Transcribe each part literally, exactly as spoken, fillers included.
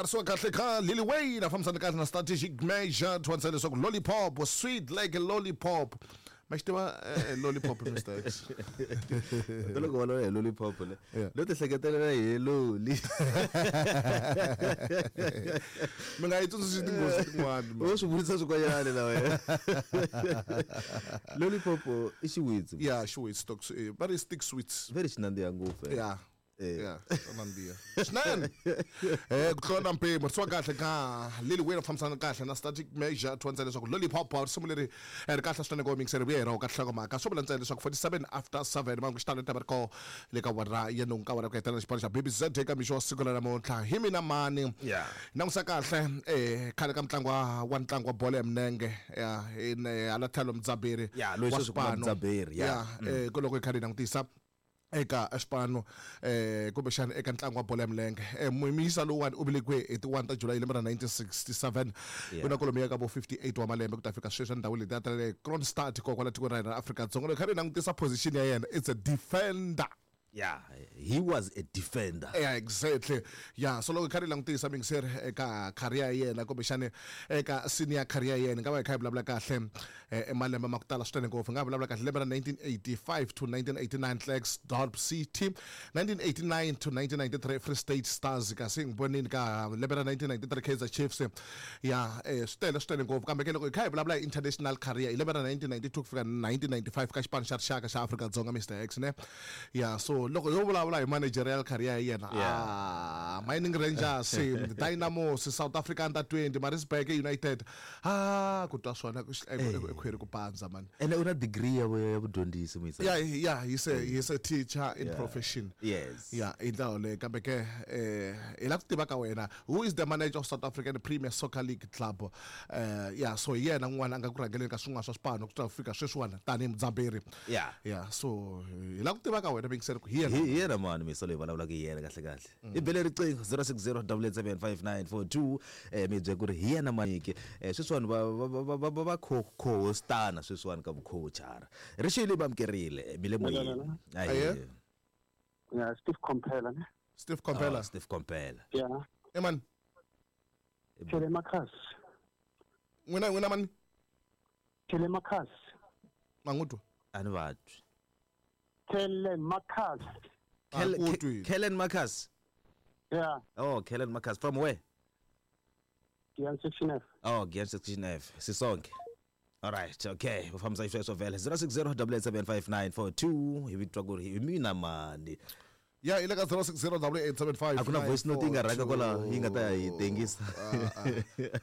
Risiwa kahle ka Lil Wayne a fambisana kahle na strategic measure twanisa leswaku lollipop sweet like a lollipop. Ma xi tiva eh, lollipop Mister X? To loko va hi lollipop le Yeah. lo ti hleketelela hi loli. Mi nga yi tsundzuxi tinghozi tin'wana. U swi vurisa swikwanyana na wena. Lollipop i xiwitsi. Yeah, xiwitsi stock eh, va ri stick sweets. Very xi nandziha ngopfu. eh. Yeah. Eh. Yeah, swa nandziha swinene. Eh ku tlula na mpimo risiwa kahle ka Lil Wayne a fambisana kahle na strategic measure twanisa leswaku lollipop risimu leri eh, ri kahle swinene ku mixer vuya hi ra ka nhlokomhaka swo vula ntsena leswaku forty-seven after seven mangu xitalo ta va ri ko le ka wara ya nhungu ka wara ku hetelela xipano xa B B Z eka mixo wa siku ra namuntlha hi mina mani. Yeah. Langusa kahle eh khale ka mutlangi wa wa ntlangu wa bolo ya milenge ya hi ne hala tlhelo Mudzaberi Yeah, loyi wa sweswi ku nga xipano. Mudzaberi, yeah. Yeah, eh ku loko hi kha hi langutisa eka xipano eh kumbexana eka ntlangu wa bolo ya milenge eh muyimisa lowuwani u velekiwe hi ti one ta July hi lembe ra nineteen sixty-seven. Yeah. U na kwalomuya ka vo fifty-eight wa malembe ku ta fika sweswi endhawini leti a ta le Kroonstad kokwala tikweni ra hina ra Afrika-Dzonga. Loko hi kha hi langutisa position ya yena, it's a defender. Yeah, he was a defender. Yeah, exactly. Yeah, so loko hi kha hi langutisa mingiseri eka career ya yena kumbexana eka senior career ya yena, nga va hi kha hi vulavula kahle eh, malembe ma ku tala swinene ngopfu. Nga vulavula kahle lembe ra nineteen eighty-five to nineteen eighty-nine Klerksdorp City, nineteen eighty-nine to nineteen ninety-three Free State Stars, kasi hi vonini ka lembe ra nineteen ninety-three Kaizer Chiefs. Yeah, eh, swi tele swinene ngopfu. Kambe ke loko hi kha hi vulavula hi international career hi lembe ra nineteen ninety-two ku fika nineteen ninety-five ka xipano xa rixaka xa Afrika-Dzonga Mister X ne. Yeah, so loko yo vulavula hi managerial career ya yena, Yeah. ah, Mining Rangers, Dynamos, South Africa Under twenty, Maritzburg United. Ah, ku twa swona ku xi- Eh. e khwiri ku pandza man. Ene u na degree ya vu- ya vudyondzisi muyisa. Yeah, yeah, he's a, he's a teacher in Yeah. profession. Yes. Yeah, hi ndlela yoleyo. Kambe ke eh hi lava ku tiva ka wena, who is the manager of South African Premier Soccer League Club? Eh yeah, so hi yena n'wana a nga ku rhangeleni ka swin'wana swa swipano ku ta fika sweswiwani tanihi Mudzaberi. Yeah. Yeah, so hi lava ku tiva ka wena mingiseri ku hi yena. Hi hi yena mani misa loyi vulavulaka hi yena kahle kahle. I bele riqingho zero six zero double eight seven five nine four two eh mi bye ku ri hi yena maniki. Eh sweswiwani va va va va va va co-hostana sweswiwani ka vucoachara. Rixile va amkerile mi le moyeni. Aye. Yeah, Steve Komphela ne. Steve Komphela. Oh, Steve Komphela. Yeah. Eh man. Telemarcus. N'wina n'wina mani? Telemarcus. Mangutwa. A ni vatwi. Telemarcus. Kel- Ah, ku twi. Ke- Kellen Marcus. Yeah. Oh, Kellen Marcus from where? Giyani section F. Oh, Giyani section F. Sisonke. All right, okay. U fambisa xisweswo vhele zero six zero double eight seven five nine four two hi vitwa ku ri hi mina mani. Yeah, hi le ka zero six zero double eight seven five A ku na voice note yi nga rhanga kwala yi nga ta ya hi tengisa.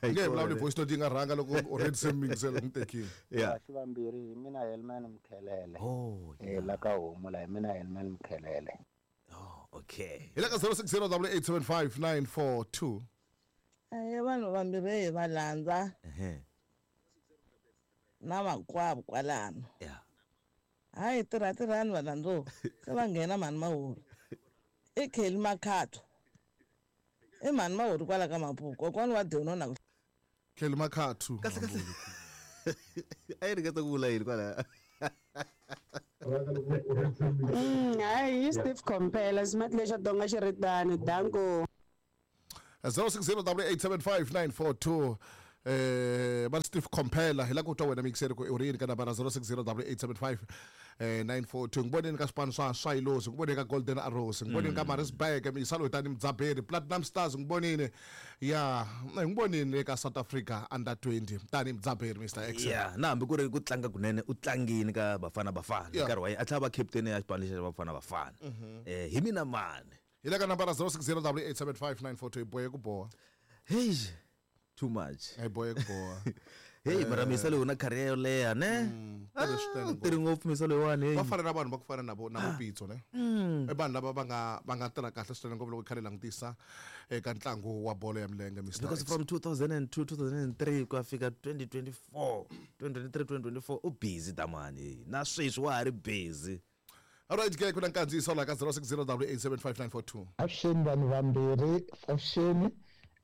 Nge hi vulavuli voice note yi nga rhanga loko already se mingisela n'wi tekile. Yeah. Kasi vambirhi hi mina Helman Mkhelele. Oh, Eh la ka homu la hi mina Helman Mkhelele. Oh, okay. Hi le ka zero six zero double eight seven five nine four two. Ahe vanhu vambirhi hi va landza Ehe. na makwavo kwalano. Yeah. Hayi tirha tirhani valandzo se va nghena mhani Mahori. I Kelly Makhatho. I mhani Mahori kwala ka Mapuku kokwani wa Deno na ku Kelly Makhatho. Kahle kahle. A yi ringeta ku vula yini kwala? Mm, hayi hi Steve Komphela smart lexo donga xi ri tano danko. zero six zero double eight seven five nine four two. Eh va Steve Komphela hi la ku twa wena mixer ku u ri yini ka nambara zero six zero double eight seven five eh nine four two. Ngiboneni ka swipano swa Swailosi, ngiboneni ka Golden Arrows, ngiboneni ka Maritzburg, misalo tani Mudzaberi, Platinum Stars ngibonini. Yeah, ngibonini ka South Africa under twenty tani Mudzaberi Mister X. Yeah, na hambi ku ri ku tlanga kunene u tlangini ka Bafana Bafana Yeah. nkarhi wa yena a tlhela va captain ya xipano lexi xa Bafana Bafana. Eh hi mina mani. Hi le ka nambara zero six zero double eight seven five nine four two hi bohe ku boha. Hey, too much. Hi bohe ku boha. Hey, mara misa loyi u na career yo leha ne? Tele swinene Ah, tirhi ngopfu misa loyiwani hey. Va fana na vanhu va ku fana na vo na vo Pitso ne. I vanhu lava va nga va nga tirha kahle swinene ngopfu loko hi kha hi langutisa eka ntlangu wa bolo ya milenge Mister Because X. from two thousand and two, two thousand and three ku ya fika twenty twenty-four, twenty twenty-three, twenty twenty-four u busy tamani. Na sweswi wa ha ri busy. All right, ke ku na nkandziyiso la ka zero six zero double eight seven five nine four two. Avuxeni vanhu vambirhi, avuxeni.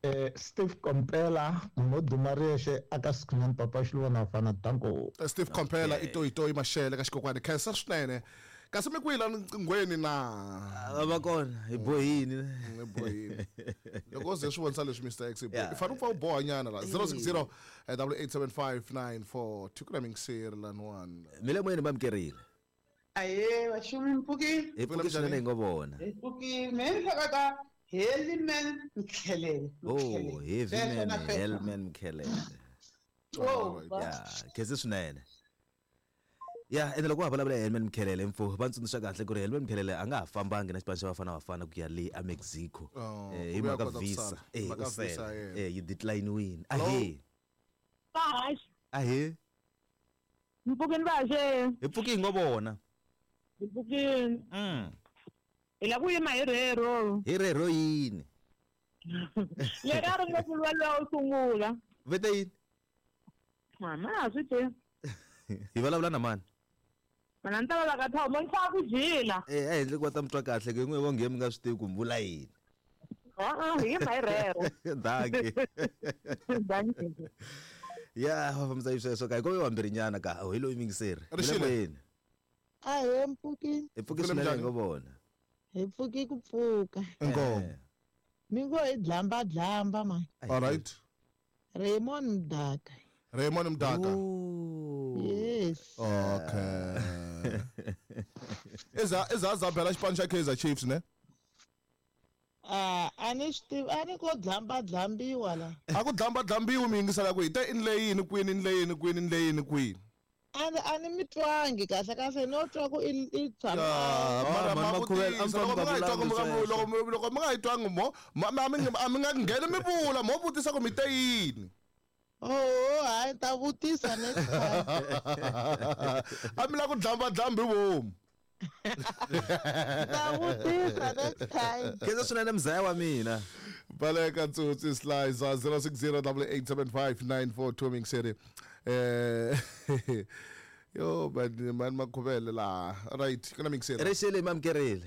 Eh Steve Komphela munhu wo duma riyexe aka Sikhunana Papa Xiluvana Fana danko. Steve Komphela Okay. i toyitoyi Mashele ka xikokwani. Khensa swinene. Kasi mi kwihi la nqinghweni na? Va kona hi bohini. Hi bohini. Loko ze swi vonisa leswi Mister X i fanele u pfa u boha nyana la zero six zero double eight seven five nine four two ku na mingiseri laniwani. Mi le moyeni mamkerile. Aye, vaxumi mpfuki. Hi pfuki swinene hi ngo vona. Hi pfuki me ni hleketa Heliman Mkhelele. Oh, Heavyman Heliman Mkhelele. Oh, yeah, khensa swinene. Ya, ene loko va vulavula hi Heliman Mkhelele mfo, va tsundzuxa kahle ku ri Heliman Mkhelele a nga ha fambangi na xipano xa Bafana Bafana ku ya le a Mexico. Eh, hi mhaka visa. Eh, eh, yi decline-wini. Ahe. Ahe. Mpfukini vaxe. Hi pfuki hi ngo vona. Hi pfukini. Mm. Hi lava ku yima hi rero. Hi rero yini? Leri a ri nga vuriwa luya wo sungula. Vete yini? Mama a swi tivi. Hi vulavula na mani? Mina ni ta va ka Thabo, ni famba ku jila. Eh, a hi endli ku va ta mi twa kahle ku n'we vonge mi nga swi tivi ku mi vula yini. A-a, hi yima hi rero. Dankie. Dankie. Ya, va fambisa hi sweswo ka hi ko vambirhi nyana ka hi loyi mingiseri. Rixile. Ahe mpfuki. Hi pfuki swinene hi ngo vona. Hi pfuki ku pfuka. Inkomu. Mi ngo hi dlamba dlamba man. All right. Raymond Mdaka. Raymond Mdaka. Yes. Okay. Eza eza zabela xipano xa Kaizer Chiefs ne? Ah, a ni swi tivi, a ni ko dlamba dlambiwa la. A ku dlamba dlambiwi mi yingisela ku hi te in leyini kwini in leyini kwini in leyini kwini. A ni a ni mi twangi kahle kahle no twa ku i i tshama. Mara ma vutisa loko mi nga yi twangi loko loko mi nga yi twangi mo a mi a mi nga ngheni mi vula mo vutisa ku mi te yini. Oh, hayi ta vutisa next time. A mi la ku dlamba dlambi vomu. Ta vutisa next time. Khensa swinene mzaya wa mina. Baleka Tsotsi Slicer zero six zero double eight seven five nine four two mingiseri. Eh yo man man makhuvele la. Right, kuna mingiseri. Rixile mamkerile.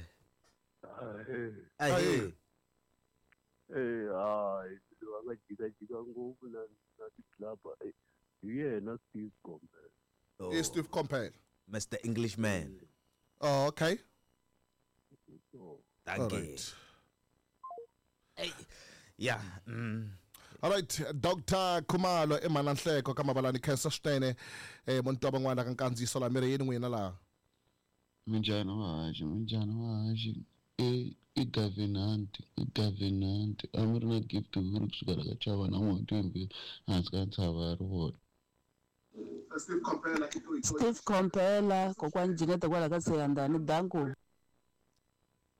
Ahe. Eh hayi, va nga jika jika ngopfu na na ti-club. Hi yena Steve Komphela. Oh. Steve Komphela. Mister Englishman. Oh, okay. Thank you. Right. Hey. Yeah. Mm. All right, Doctor Khumalo eMananhleko ka Mabalani khensa swinene eh muntu wa van'wana ka nkandziyiso la miri yini n'wina laha. Minjhani vahaxi, minjhani vahaxi. I i Gavin Hunt, i Gavin Hunt. A mi ri na gift huri kusukela ka chava na n'hweti yimbirhi hansi ka ntshava ya rivoni. Steve Komphela Steve Komphela kokwani Jinete kwala ka Seyandani danko.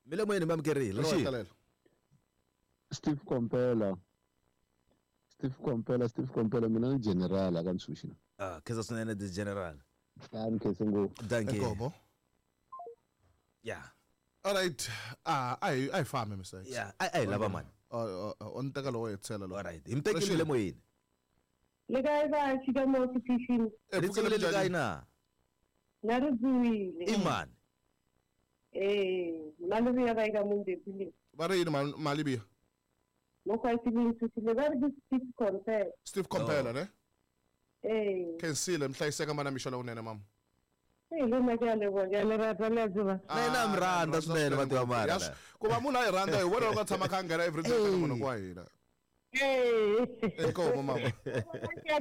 Mi le moyeni mamkerile. Rixile. Steve Komphela. Steve Komphela, Steve Komphela mina ni general aka Ntshuxi. Ah, khensa swinene the general. Ya ni khense ngopfu. Thank you. Inkomo. Yeah. All right. Ah, I I fambe Mister X. Yeah, I I lava man. Oh, on teka lowo hetsela lo. All right. Hi mi le moyeni. Le kae ba tshika mo setifini? Ri tswile le kae na? Na ri dzuwile. I mani? Eh, Malivia ba eka Mondepile. Va ri yini Malivia? Mo kwa sibili sisile ba ri Steve Komphela. Steve Komphela ne? Eh. Khensile mhlayiseka mana mixo lowunene mama. Eh, le na ke a leboha, ke a le rata le a tseba. Na yena mi rhandza swinene va tiva mara. Ku va munhu a yi rhandza hi vona loko a tshama kha a nghena every day munhu wa hina. Eh. Inkomu mama. Ke a